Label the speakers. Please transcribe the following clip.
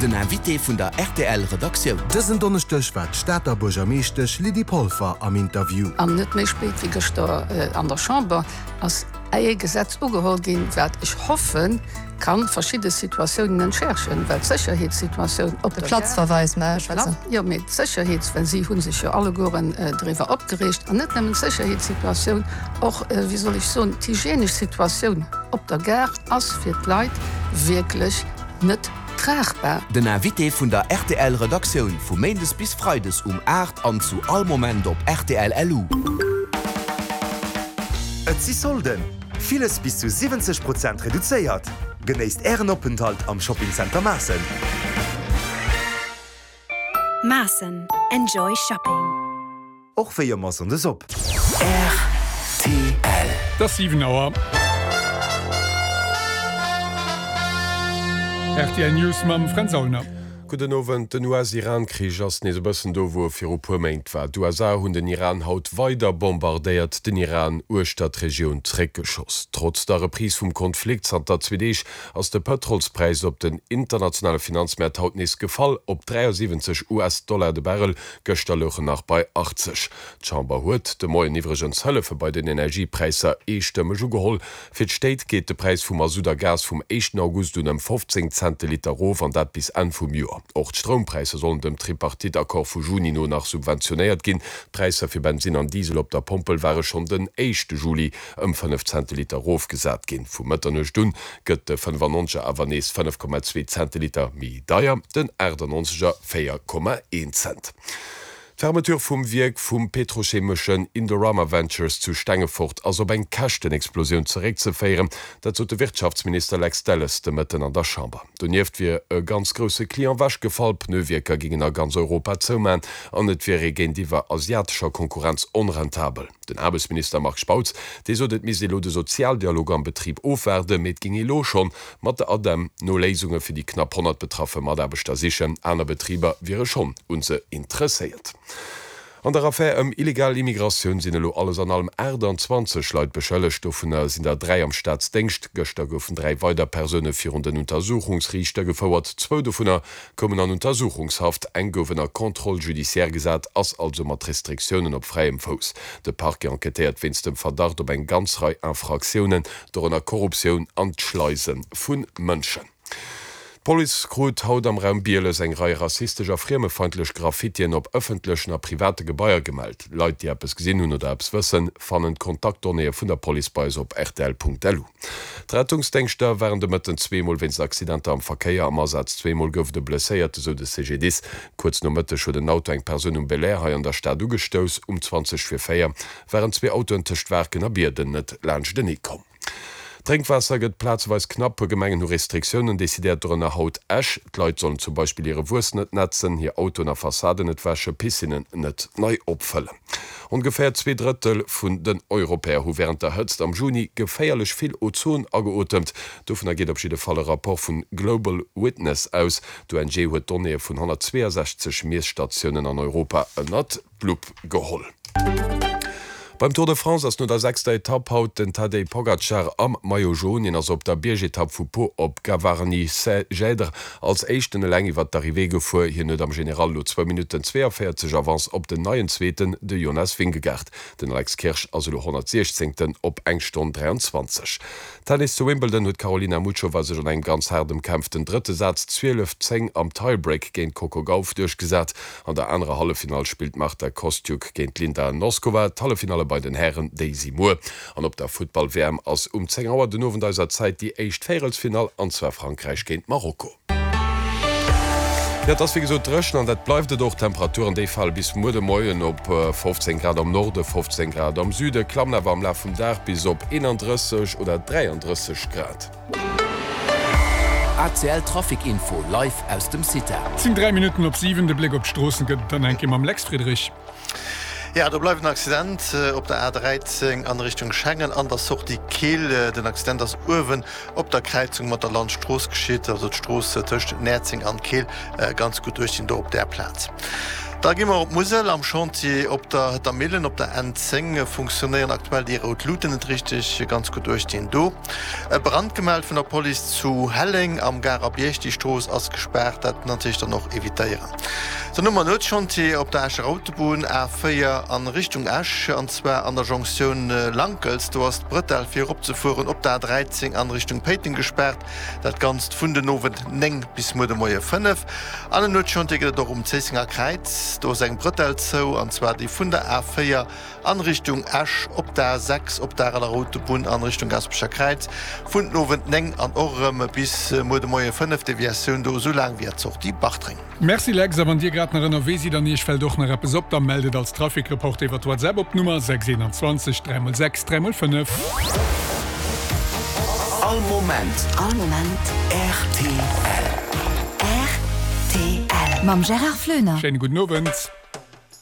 Speaker 1: Den Invité vun der rtl Redaktioun.
Speaker 2: Dësen Donneschdeg war d'Stater Buergermeeschtesch Lydie Polfer am Interview.
Speaker 3: An net méi spéit wéi gëschter an der Chamber ass ee Gesetz ugeholl ginn, wat ech hoffen, ka verschidde Situatiounen entschärfen, well d'Sécherheetssituatioun op der Gare.
Speaker 4: Platzverweis, mä ech schwätzen.
Speaker 3: Jo, mee d'Sécherheets-, well si hu sech jo allegueren driwwer opgereegt, an net nëmmen d'Sécherheetssituatioun, och, wéi soll ech soen, d'hygienesch Situatioun op der Gare ass fir d'Leit wierklech net tragbar.
Speaker 1: Den Invité vun der rtl Redaktioun vu Méindes bis Freides um 8 an zu all Moment op rtl LU.
Speaker 2: Et si Solden! Villes bis zu 70 Prozent reduzéiert! Genéisst Ären Openthalt am Shopping Center Maassen!
Speaker 5: Maassen, Enjoy Shopping!
Speaker 2: Och wéi ëmmer Sonndes op.
Speaker 1: Rtl.
Speaker 6: Et ass 7 Auer. Rtl News mam Fränz Aulner.
Speaker 7: Gudden Owend. Den US-Iran-Krich ass nees e bëssen do, wou e viru puer Méint war. D'USA hunn den Iran haut weider bombardéiert, den Iran uechter d'Regioun zréckgeschoss. Trotz der Reprise vum Konflikt zanter zwee Deeg ass de Pëtrolspräis op den internationale Finanzmäert haut nees gefall, op 73 US-Dollar de Barrel, Gëschter louch en nach bei 80. D'Chamber huet de Moien iwwregens Hëllefe bei den Energiepräisser eestëmmeg ugeholl. Fir d'Stéit geet de Präis vu Masutt a Gas vum éischten August un ëm 15 Cent de Liter erof, an dat bis Enn vum Joer. Och d'Stroumpräisser sollen dem Tripartite-Accord vu Juni no nach subventionéiert ginn. D'Präisser fir Bensinn an Diesel op der Pompel ware schonn den éischte Juli ëm 5 Cent de Liter erofgesat ginn. Vu Mëtternuecht un gëtt de 95er awer nees 5,2 Cent de Liter méi deier, den 98er 4,1 Cent. D'Fermeture vum Wierk vum petrochemeschen Indorama Ventures zu Stengefort ass op eng Käschtenexplosioun zeréckzeféieren. Dat sot de Wirtschaftsminister Lex Delles de Mëtten an der Chamber. Donieft wier e ganz grousse Client wechgefall, Pneuwierker gingen a ganz Europa zouman an et wier ee géintiwwer asiatescher Konkurrenz onrentabel. Den Aarbechtsminister Marc Spautz, dee sot, et misst ee lo de Sozialdialog am Betrib ofwaarden, mee et géing ee lo schonn mat der ADEM no Léisunge fir déi knapp 100 betraffe Mataarbechter sichen. Aner Betriber wiere schonn un se interesséiert. An der Affär ëm illegal Immigratioun sinn elo alles an allem 28 Leit beschëllegt, dovunner sinn der 3 am Staatsdéngscht. Gëschter goufen 3 weider Persoune virun den Untersuchungsriichter gefouert, zwou dovunner koumen an Untersuchungshaft, eng gouf ënner Contrôle judiciaire gesat, ass also mat Restriktiounen op fräiem Fouss. De Parquet enquêtéiert wéinst dem Verdacht op eng ganz Rei Infraktiounen, dorënner Korruptioun an d'Schleise vu Mënschen. D'Police krut haut am Raum Bieles eng Rei rassistesch a friemefeindlech Graffitien op ëffentlechen a private Gebaier gemellt. Leit, déi eppes gesinn hunn oder eppes wëssen, fannen d'Kontaktdonnéeë vun der Police bei eis op rtl.lu. D'Rettungsdéngschter waren de Mëtten zweemol wéinst Accidenter am Verkéier am Asaz. Zweemol gouf et e Blesséierte, sou de CGDIS. Kuerz no Mëtteg huet en Auto eng Persoun um Belair hei an der Stad ugestouss. Um 20 vir 4 waren zwee Autoen tëscht Waarken a Bierden net laanschtenee komm. D'Drénkwaasser gëtt plazeweis knapp. Puer Gemengen hu Restriktiounen decidéiert, dorënner haut Esch. D'Leit sollen zum Beispill hire Wuess net nätzen, hir Autoen a Fassaden net wäschen, Piscinnen net nei opfëllen. Ongeféier 2 Drëttel vun den Europäer hu wärend der Hëtzt am Juni geféierlech vill Ozon ageotemt. Dovunner geet op jidde Fall e Rapport vun Global Witness aus. D'ONG huet d'Donnéeë vun 162 Miesstatiounen an Europa ënnert. d'Lupp geholl. Beim Tour de France ass no der sechster Etapp haut den Tadej Pogacar am Maillot Jaune. Hien ass op der Biergetapp vu Pau op Gavarnie-Saint-Gèdre als éischten eleng iwwer d'Arrivée gefuer. Hien huet am General elo zwou Minutten 42 Avance op den neien Zweeten, de Jonas Vingegaard. Den Alex Kirsch ass elo 116. Op eng Stonn 23. Tennis, Zu Wimbledon huet d'Karolina Muchova sech an engem ganz haart ëmkämpften drëtte Saz 12, 10 am Tiebreak géint d'Coco Gauff duerchgesat. An der anerer Halleffinall spillt d'Marta Kostyuk géint d'Linda Noskova. D'Halleffinalle bei den Hären, déi si muer. An op der Futtball-WM ass um 10 Auer den Owend eiser Zäit déi éischt Véierelsfinall, an zwar Frankräich géint Marokko. Jo, et ass wéi gesot dréchen an dat bleift et och. D'Temperaturen, déi fale bis muer de Moien op 15 Grad am Norde, 15 Grad am Süde, klammen awer am Laf vum Dag bis op 31 oder 33 Grad.
Speaker 1: ACL Trafic Info live aus dem CITA.
Speaker 6: Et sinn 3 Minutten op 7. De Bléck op d'Stroossen gëtt et dann eng Kéier mam Lex Friedrich.
Speaker 8: Jo, do bleift en Accident op der A13 an Richtung Schengen an der Sortie Keel. Den Accident ass uewen op der Kräizung mat der Landstrooss geschitt, also d'Strooss tëscht Näerzeng an Keel ganz gutt duerchsinn do op där Plaz. Da gi mer op d'Musel. Am Chantier op der Hëtter Millen op der N10 funktionéieren aktuell déi rout Luuten net richteg. Ganz gutt uecht deen do. E Brand gemellt vun der Police zu Helleng am Garer Bierg. Déi Strooss ass gespaart, dat natierlech dann och evitéieren. Dann hu mer Nuetschantier op der Escher Autobunn A4 an Richtung Esch, an zwar an der Jonktioun Lankels. Do ass d'Bretelle fir eropzefueren op der A13 an Richtung Péiteng gespaart. Dat Ganzt vun den Owend 9 bis muer de Moie 5. An en Nuetschantier gëtt et och um Zéissenger Kräiz. Do ass eng Bretelle zou, an zwar déi vun der A4 An Richtung Esch op der A6, op der Areler Autobunn an Richtung Gaspecher Kräiz vun den Owend 9 an och erëm bis muer de Moie 5, Deviatioun do esou laang wéi at Sortie Bartreng.
Speaker 6: Merci Lex, a wann dir grad nach ënnerwee sidd an iech fält och nach eppes op, da mellt et als Trafic-Report iwwert WhatsApp op d'Nummer 6 21 3 x 6 3 x 5.
Speaker 1: All Moment.
Speaker 5: All Moment.
Speaker 1: Rtl.
Speaker 5: Rtl. Mam Gérard Floener.
Speaker 6: Schéine gudden Owend.